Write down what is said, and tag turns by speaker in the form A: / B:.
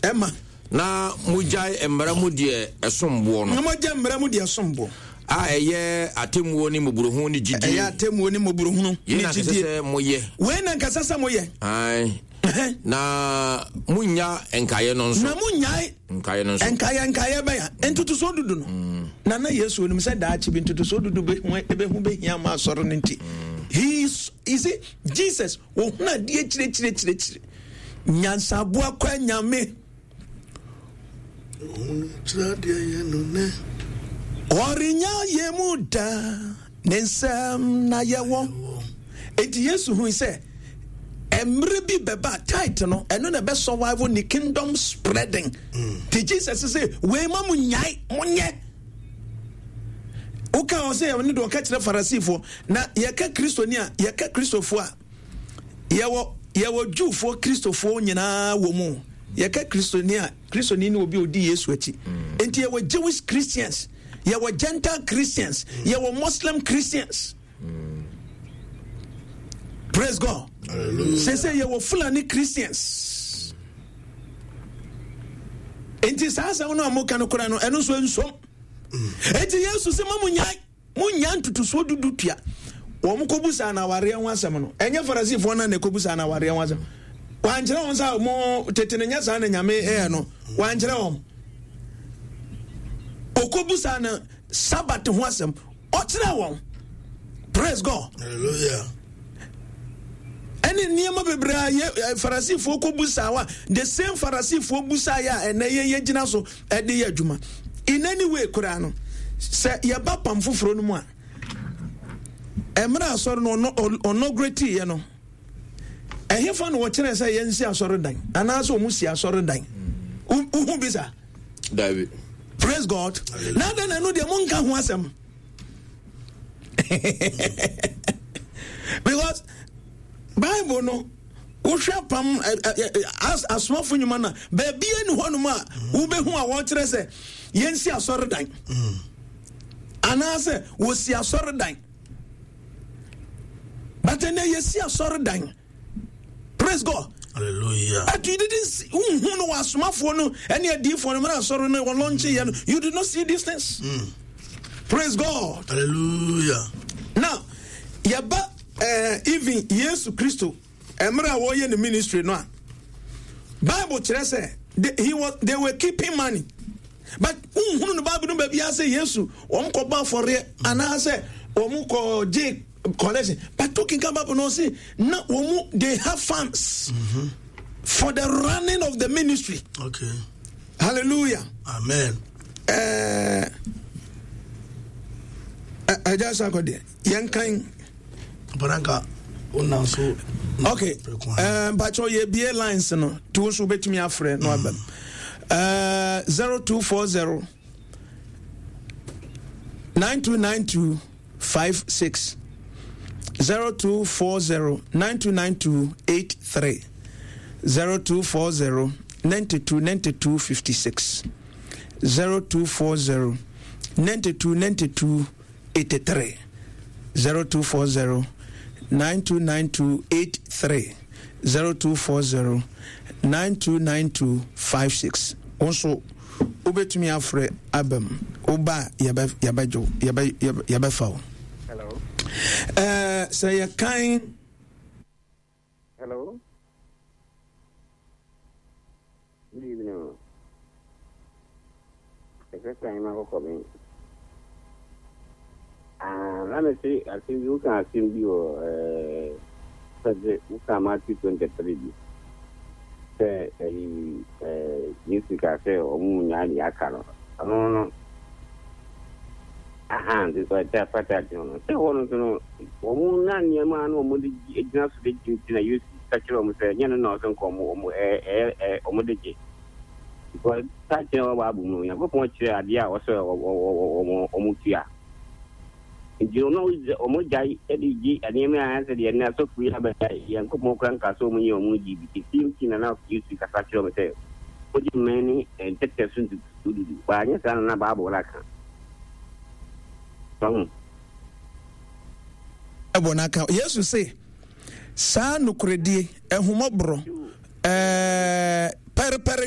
A: Ɛma.
B: Na mogyae mmara mu deɛ ɛsom boɔ no.
A: Na mogyae mmara mu deɛ ɛsom boɔ.
B: A ɛyɛ atemmuo ne mmɔborɔhunu ne gyidie.
A: Ɛyɛ atemmuo ne mmɔborɔhunu ne gyidie.
B: Yei na sɛ moyɛ.
A: Wei na nkasa sɛ moyɛ.
B: Ae. Na monnya nkaeɛ no nso.
A: Na monnyae.
B: Nkaeɛ no nso.
A: Nkaeɛ nkaeɛ bɛn a ntotosoɔ dudu no. Mm. Na na Yesu onim sɛ daakye bi ntotosoɔ dudu bɛhu ɛbɛhu bɛhia ma asɔre no nti. Mm. He is, you see, Jesus wɔhunu adeɛ kyerɛkyerɛkyerɛkyerɛ. Nyansaboa kwa nyame. Ɔrenya yɛ mu da ne nsɛm na yɛwɔ. Enti Yesu hui sɛ mmerɛ bi bɛba tight no ɛno na ɛbɛ survive ne kingdom spreading. Mm. Ti Jesus sɛ wei ma mo nyae monyɛ. Woka wɔ sɛ ɛne deɛ ɔka kyerɛ Farisifoɔ na yɛka Kristoni a yɛka Kristofoɔ a Yɛwɔ yɛwɔ Jewfoɔ Kristofoɔ nyinaa wɔ mu. Yɛka Kristoni a, Kristoni ne obi a odi Yesu akyi. Mm. Nti yɛwɔ Jewish Christians, yɛwɔ Gentile Christians, mm. yɛwɔ Muslim Christians. Mm. Praise God. Sɛ sɛ yɛwɔ Fulani Christians. Nti saa asɛm no a moka no koraa no, ɛno nso nsom. Nti Yesu sɛ ma mo nyae. Monnya ntotosoɔ dudu tua. Wɔn kɔbusaa no awareɛ ho asɛm no, ɛnyɛ Farisifoɔ no na ɛkɔbusaa no awareɛ ho asɛm. Wankyerɛ wɔn sɛ mo tete no nyɛ saa na Nyame ɛyɛ no. Wankyerɛ wɔn. Ɔkɔbusaa no Sabat ho asɛm. Ɔkyerɛ wɔn. Praise God.
C: Hallelujah.
A: Ɛne nneɛma bebree a yɛ eh, Farisifoɔ kɔbusaa wa the same Farisifoɔ busaa yɛ a ɛnɛ yɛn yɛgyina so ɛde yɛ adwuma in any way koraa no sɛ yɛba pam foforɔ no mu a mmerɛ asɔre no ɔnɔgrɛtiiɛ no ɛhefa na wɔkyerɛ sɛ yɛnsi asɔre dan anaasɛ wɔn si asɔre dan wohu bi saa
B: dabi
A: praise god na adɛn na ɛno deɛ monka ho asɛm because bible no wohwɛ apam asomafo nnwuma no a baabia ni hɔnom a wobɛhu a wɔkyerɛ sɛ yɛnsi asɔredan anaasɛ wɔsi asɔredan but ɛnɛ yɛsi asɔredan praise god
C: Hallelujah.
A: But you didn't see who no asomafoɔ no ɛne adiifoɔ no mmerɛ asɔre no wɔlɔnkye yɛ no you did not see these things. Mm. Praise God.
C: Hallelujah.
A: Now yɛba eh, even Yesu Kristo mmerɛ a wɔyɛ ne ministry no a Bible kyerɛ sɛ they, he was, they were keeping money but nhunu no Bible no baabi sɛ Yesu wɔn kɔ bɔ afɔreɛ anaasɛ wɔn kɔ gye collection but to kinka Bible no ɔse na wɔn they have funds mm -hmm. for the running of the ministry.
C: Okay.
A: Hallelujah.
C: Amen.
A: Ɛɛ ɛgya sakɔ deɛ yɛn kan.
C: Baranka wonam so.
A: Ok eh, mpakyɛw yɛbie lines no nti wo nso wobɛtumi afrɛ no abam eh, 0240 9292 56 0240 9292 83 0240 92 92 56 0240 92 92 83 0240 9292 83 0240 9292 56 wo nso wobɛtumi afrɛ aba mu woba a yɛbɛgye yɛbɛfa wo sɛ yɛkan
D: Hello. Good evening. The first time I come in. Ah, let me see. I think you can see me or eh, woka Matthew 23 bi sɛ ɛyi eh, Yesu ka sɛ ɔmo nyaa deɛ aka no ɔno no Ahaa, nti sɛ ɔkyɛ fata ati ho no, sɛ hɔ no nso no, wɔn na nneɛma a na wɔn de gyina so de gye nti na Yesu ka kyerɛ wɔn sɛ ɛnyɛ no na ɔsɛ nka wɔn wɔn ɛɛ ɛɛ ɛɛ wɔn de gye. Because saa kyerɛ wɔ Bible mu no, Onyankopɔn kyerɛ adeɛ a ɔsɛ wɔ wɔ wɔ wɔn wɔn tua. Nti no na wɔn gyae de gye nneɛma a ɛsɛ deɛ na asɔfo yi abɛgyae, Nyankopɔn kora nka sɛ wɔn nyɛ wɔn gye bi. The same thing na na Yesu kasa kyerɛ wɔn sɛ wɔgye mmɛn ne ntɛtɛ so ntotosoɔ dudu. Anyɛ saa na na Bible no aka. Wahu?
A: Ɛbɔ n'aka. Yesu se, saa nokorɛdie, ahummɔborɔ, ɛɛ, pɛrepɛreyɔ.